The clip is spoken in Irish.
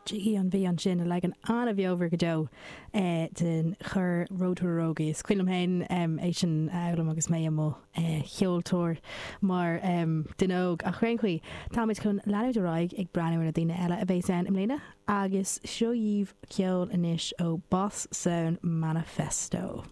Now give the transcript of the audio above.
Jiggy an Mhí ansin, leagan an-bheomhar go deo den chor Road to Raroga. Is cuimhin liom féin é sin a fhoghlaim agus mé i mo cheoltóir mar duine óg. Ach ar aon chaoi, táimid chun leanúint ar aghaidh ag breathnú ar na daoine eile a bheas ann i mbliana agus seo dhaoibh ceol anois ó Boss Sound Manifesto.